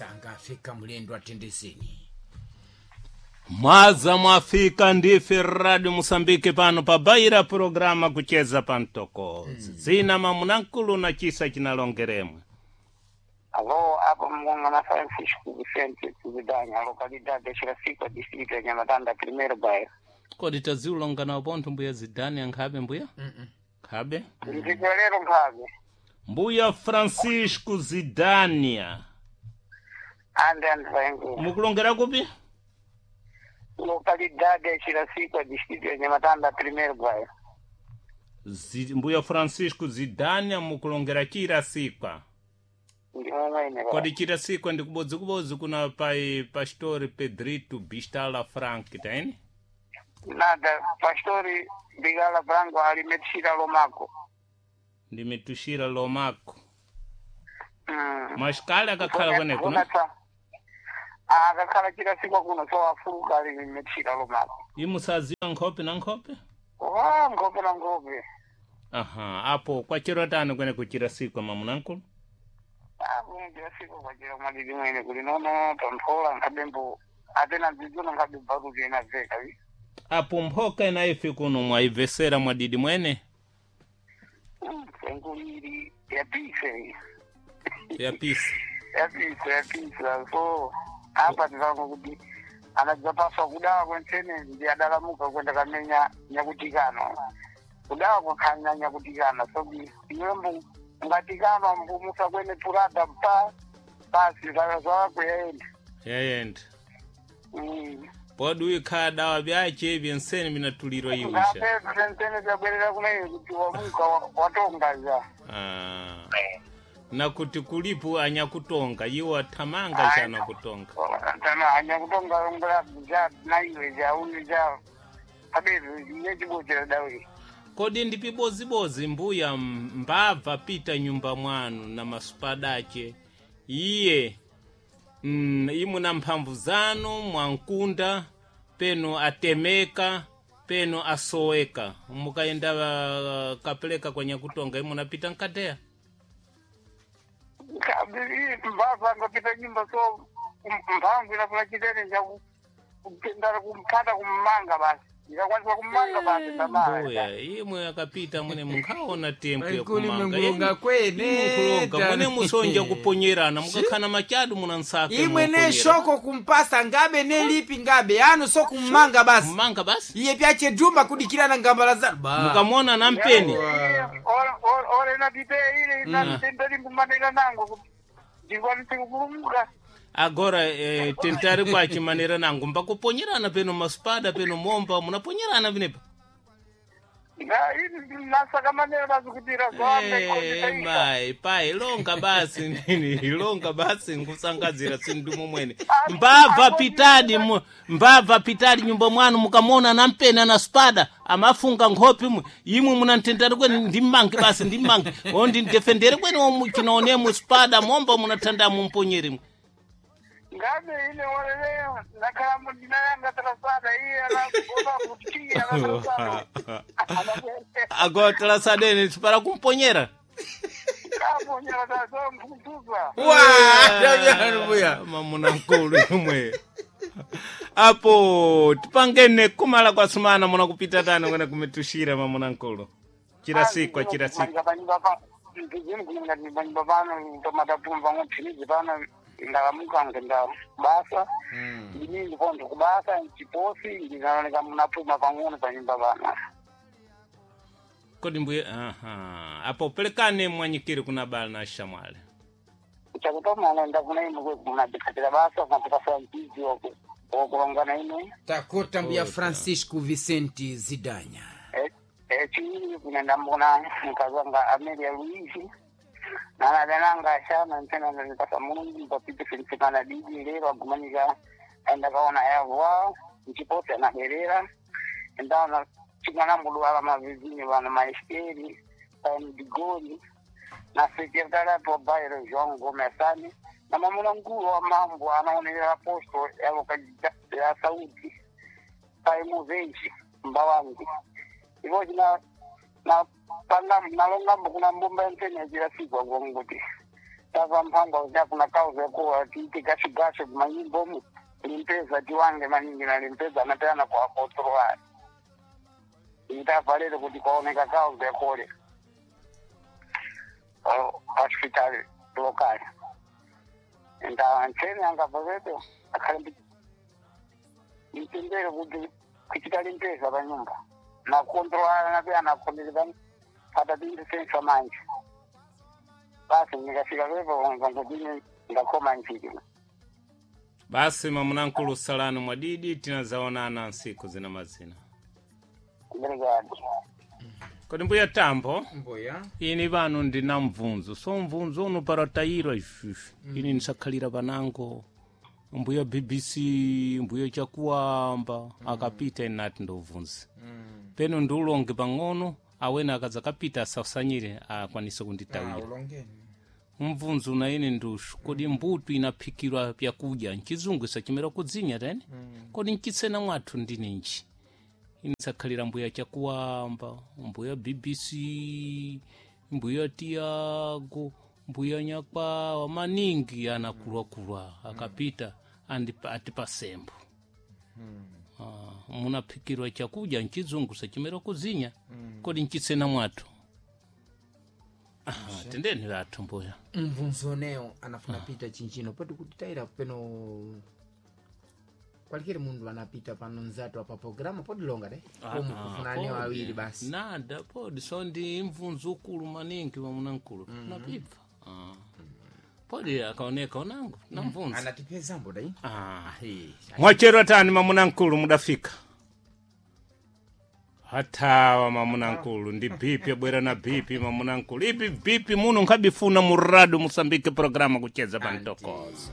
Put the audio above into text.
Msanga afika mlendo atendeseni. Mwaza mwafika ndife Radio Musambike pano pabaira programa kucheza pamtokozi. Zina mamunankulu na chisa chinalongeremwe. Alô, apo mgonga na Francisco Vicente Zidanya, localidade de Chiracico, distrito ya Nhamatanda, primeiro bairro. Kodi taziulonga nawo pontho mbuya Zidane ankhabe mbuya? Nkhabe? Ndicholero nkhabe. Mbuya Francisco Zidania. Ande andvaengula. Mukulongera kupi? Localidade de Chiracico, distrito ya Nhamatanda, primeiro bairro. Mbuya Francisco Zidania mukulongera Chirasikwa. Ndimomwene. Kodi Chirasikwa ndi kubodzikubodzi kuna pai Pastor Pedrito Bistala Frank taini? Nada, pastori Bigala Branco alimetishira lomako. Ndimitushira lomako. Mm. Mashikali akakhala kweneko no? Akakhala Chirasikwa kuno so afuruka alimetishira lomako. Imusaziwa nkhope na nkhope? Wa nkhope na nkhope. Aha, apo kwachero tani kweneko Chirasikwa mamunankulu? Chirasikwa kwachira mwadidi mwene kuli nono tonthola nkhabembo atena dzidzona nkhabe baruti ena veka vi. Apo mphoka inaife kuno mwaibvesera mwadidi mwene Senkuliri yapise yapisi. yapise yapisa so apa tivango kuti anadzapaswa kudawa kwentsene ndi adalamuka kwenda kamenya nyakutikano kudawa kwakhanya nyakutikana so iwe mbu ngatikano mbu musakwene purada pa basi zawakuyenda. Yayenda. Mm. Podi uikhala dawa byache byensene binatulirwa iwisha. Ngape sentene tabwerera kumeyo kuti wamuka watongaza. Ah. Na kuti kulipo anyakutonga iwo athamanga chana kutonga. Tana anyakutonga ngala ja naiwe ja uyu ja abe yechibochera dawe. Kodi ndi pibozibozi mbuya mbabva pita nyumba mwanu na masupadache iye imuna mphamvu zanu mwankunda peno atemeka peno asoweka mukayenda kapeleka kwa nyakutonga imunapita nkateya. Mbabva ngapita nyumba so mphamvu inafuna chitene cha kupindana kumphata kummanga basi ikakwanisa kummanga basi tamara. Mbuya imwe akapita mwene munkhaona tempo Paikuli yakumanga mungulunga kwene. Mukulonga mwene musonja kuponyerana mukakhana machadu munansaka Imwe ne shoko kumpasa ngabe ne lipi ngabe anu so kummanga basi. mmanga basi Iye pyache duma kudikirana ngambala zanu. Ba. mukamona nampeni Ore inapite ile inatenderi mbumanira nango ndikwanise kupulumuka. Agora tentari kwachimanira nangu mbakuponyerana peno masupada peno momba munaponyerana vinepa. Nasaka manera basi kuti Eh, mai pai longa basi nini longa basi nkusangazira sindumu mwene mbabva pitadi mbabva pitadi nyumba mwanu mukamona nampena na spada amafunga nkhope imwe imwe munantendani kwene ndimmange basi ndimmange o ndindefendere kwene omu chinaonemo spada momba munathanda mumponyere mwe. Ngabe ile orele nakhala ndinayanga trasada iye anaona kuti anatrasada. Agora talasadeni sipara kumponyera. Kaponyera tazo mputuza. Wa, tabyanu mbuya. Mamuna nkulu imwe apo tipangene kumala kwa sumana munakupita tano kwene kumitushira mamuna nkulu chirasikwa chirasikwa. Ndizini pano tomatapumva ng'ophinizi pano ndakamuka ngenda kubasa ndini ndiponto kubasa nchiposi ndinaoneka munapuma pang'ono panyumba pano. Kodi mbuye aha apo pelekane mwanyikiri kuna bala na shamwale. Chakutomana ndakuna imwe munadikhatira basa kunapikasa mpizi wokulongana imwe. Takota mbuya Francisco Vicente Zidanya. Chiwiri kunendambona mkazi wanga Amelia Luisi nanadananga ashana ntena ndipasa Mulungu papite filisimana didi lero agumanika aenda kaona yavwa nchiposi anaberera endaona chimwanambudwala mavizini vana maesteri paemdigoli na sekretari apo bairo João Gomes Sani na mamuna nkulu wa mambo anaonelera posto ya lokalidade ya Saúde paimuvenji mbawangu ivo china na panga nalongambo kuna mbumba yantene yachirasikwa kuti Tava mphangwa uja kuna kauza kuwa tiite gashigase kumanyimbomu limpeza tiwange maningi na limpeza anatana kwa kotroa. Ndava lero kuti kwaoneka kauza kole. Hospital local. Nda ncheni anga pavepo akhale mtendere kuti kuchita limpeza pa nyumba. Na kontrola na pia na kontrola pata bintu sensa manje. Basi nikafika pepo ngangudini ndakoma nchiki. Basi mamunankulu salani mwadidi tinazaonana nsiku zina mazina. Obrigado. Kodi mbuya tambo Mbuya. ini vano ndina mvunzo so mvunzo uno paratayirwa ifufu ini nisakhalira panango mbuya BBC mbuya chakuwamba akapita ini nati ndovunza peno ndiulonge pang'ono awene akadzakapita asasanyire akwanise kunditawira Ulongeni. mvunzo na ine ndushu kodi mbuto inaphikirwa pyakudya nchizungu isachimera kudzinya tene kodi nchitsena mwathu ndininji inisakhalira mbuya chakuwamba mbuya BBC mbuya tiago mbuya nyakwawa maningi anakulwakulwa akapita atipasembo munaphikirwa chakudya nchizungu sachimera kudzinya kodi nchitsena mwathu. Aha, tendeni vathu mbuya. Mvunzo neo anafuna pita chinchino poti kuti tayira peno kwalikire mundu anapita pano nzatu apa programa podilonga de komu kufuna neo awiri basi. Nada podi so ndi mvunzo ukulu maningi wamunankulu napibva. Podi akaoneka onango namvunza. Anatipezambo dai. Ahe. Mwachero tani mamunankulu mudafika hathawa mamunankulu ndi bhipi abwera na bhipi mamunankulu ipi bhipi muno nkhabifuna murado musambike programa kucheza pantokoza.